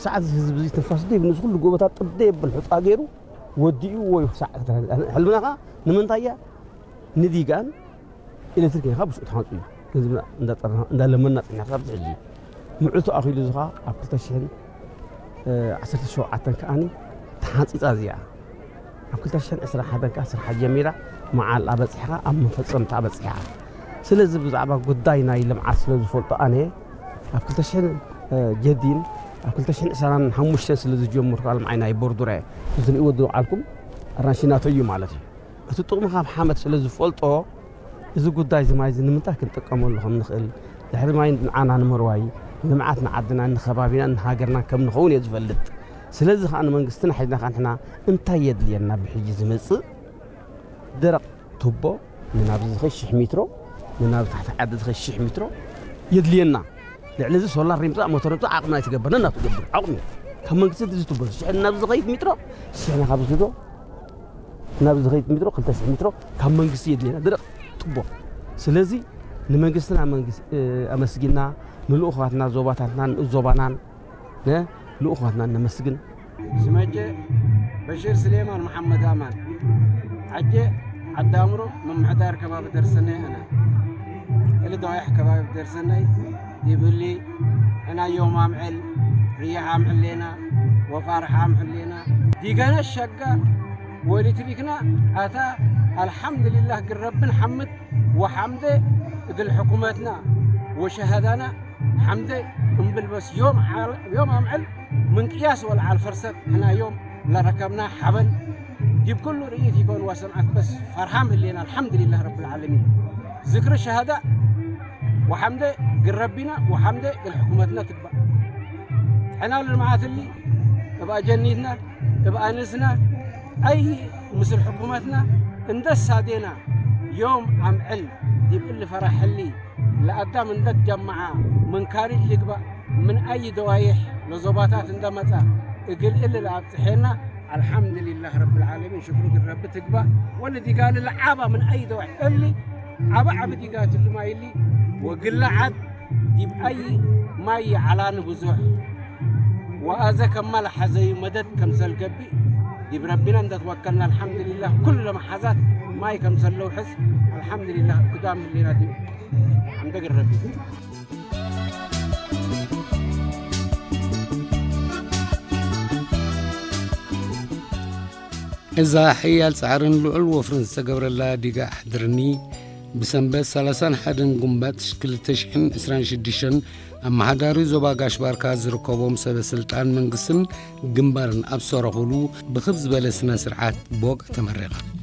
ሰዓት ህዝቢ እዚ ትንፋስ ደይብሉ፣ እዚ ኩሉ ጎቦታት ጥብ ደይብል ሑፃ ገይሩ ወዲኡ ወይ ክሳዕ ሕልምና ኸዓ ንምንታይ እያ ንዲጋን ኤሌክትሪክ ኢኻ ብሽኡ ትሓንፁ እዩ። ገንዘብና እንዳጠርና እንዳለመና ፅና ክሳብ ሕጂ ምዕቱ ኣኺሉ እዚ ኸዓ ኣብ ክልተ ሽሕን ዓሰርተ ሸውዓተን ከዓኒ ተሓንፂፃ እዚኣ ኣብ ክልተ ሽሕን ዕስራን ሓደን ከኣ ስርሓ ጀሚራ መዓል ኣበጺሕኻ ኣብ መፈጸምታ ኣበጺሕኻ። ስለዚ ብዛዕባ ጉዳይ ናይ ልምዓት ስለ ዝፈልጦ ኣነ ኣብ ክልተ ሽሕን ጀዲን ኣብ ክልተ ሽሕን ዕስራን ሓሙሽተን ስለ ዝጀመርኩ ኣልምዓይ ናይ ቦርዱረ ዝርእይዎ ዝወዓልኩም ኣራንሺ ናተይ እዩ ማለት እዩ። እቲ ጥቕሚ ካብ ሓመድ ስለ ዝፈልጦ እዚ ጉዳይ እዚ ማይ እዚ ንምንታይ ክንጥቀመሉ ከም ንኽእል ድሕሪ ማይ ንዓና ንምርዋይ ልምዓት ንዓድና ንኸባቢና ንሃገርና ከም ንኸውን እየ ዝፈልጥ። ስለዚ ከዓ ንመንግስትና ሒዝና ከዓ ንሕና እንታይ የድልየና ብሕጂ ዝመፅእ ደረቕ ቱቦ ንናብዚ ዝኸድ ሽሕ ሜትሮ ንናብ ታሕቲ ዓዲ ዝኸድ ሽሕ ሜትሮ የድልየና። ልዕሊ እዚ ሶላር ንምፃእ ሞተር ንምፃእ ዓቕምና ኣይትገብር ነናቱ ገብር ዓቕሚ ካብ መንግስቲ እዚ ቱቦ ሽሕ ናብ ዝኸይድ ሜትሮ ሽሕ ናብ ዝዶ ናብ ዝኸይድ ሜትሮ ክልተ ሽሕ ሜትሮ ካብ መንግስቲ የድልየና ደረቕ ቱቦ። ስለዚ ንመንግስትና መንግስቲ ኣመስጊና ንልኡኻትና ዞባታትናን ንኡስ ዞባናን ንልኡኻትና ነመስግን። ስመጀ በሽር ስሌማን መሓመድ ኣማን ዓጀ ዓዲ ኣምሮ ምምሕዳር ከባቢ ደርሰናይ ኣነ እሊ ደዋይሕ ከባቢ ደርሰናይ ዲብሊ ሕና ዮም ኣምዕል ርያሕ ኣምዕሌና ወፋርሕ ኣምዕሌና ዲገነ ሸጋ ወኤሌክትሪክና ኣታ ኣልሓምዱሊላህ ግረብን ሓምድ ወሓምደ እግል ሕኩመትና ወሸሃዳና ሓምደ እምብል በስ ዮም ዓል- ዮም ኣምዕል ምንቅያስ ወልዓል ፈርሰት ሕና ዮም ለረከብና ሓበን ዲብ ኩሉ ርእይት ይኮን ወሰምዓት በስ ፈርሃም ህሌና ኣልሓምዱሊላህ ረብል ዓለሚን ዝክሪ ሸሃዳ ወሓምደ ግረቢና ወሓምደ እግል ሕኩመትና ትግባእ ሕና ልልምዓት እሊ እብ ኣጀኒትና እብ ኣንስና ኣይ ምስል ሕኩመትና እንደሳዴና ዮም ኣምዕል ዲብ እሊ ፈራሕ ህሊ ለኣዳም እንደትጀመዓ ምን ካሪጅ ልግባእ ምን ኣይ ደዋይሕ ለዞባታት እንደመጻ እግል እሊ ለኣብጽሐና ኣልሓምድሊላህ ረብል ዓለሚን ሽክሩ ግን ረቢ ትግባእ ወሊ ዲጋሊ ለዓባ ምን ኣይ ደዋይሕ እሊ ዓባ ዓቢ ዲጋ ትሉ ማይ እሊ ወግለ ዓድ ዲብ ኣይ ማይ ዓላኒ ብዙሕ ወኣዘ ከማ ለሐዘዩ መደድ ከምሰል ገብእ ዲብ ረቢና እንደትወከልና ኣልሓምድሊላህ ኩሉ ለመሓዛት ማይ ከምሰለው ሕዝ ኣልሓምድሊላህ እኩዳም ህሌና ዲብ ሓምደ ግረቢ እዛ ሕያል ጻዕርን ልዑል ወፍርን ዝተገብረላ ዲጋ ኣሕድርኒ ብሰንበት ሰላሳን ሓደን ጉንበት ክልተ ሽሕን ዕስራን ሽዱሽተን ኣመሓዳሪ ዞባ ጋሽ ባርካ ዝርከቦም ሰበ ስልጣን መንግስትን ግንባርን ኣብ ዝሰረኹሉ ብኽብ ዝበለ ስነ ስርዓት ብወግዒ ተመሪቓ።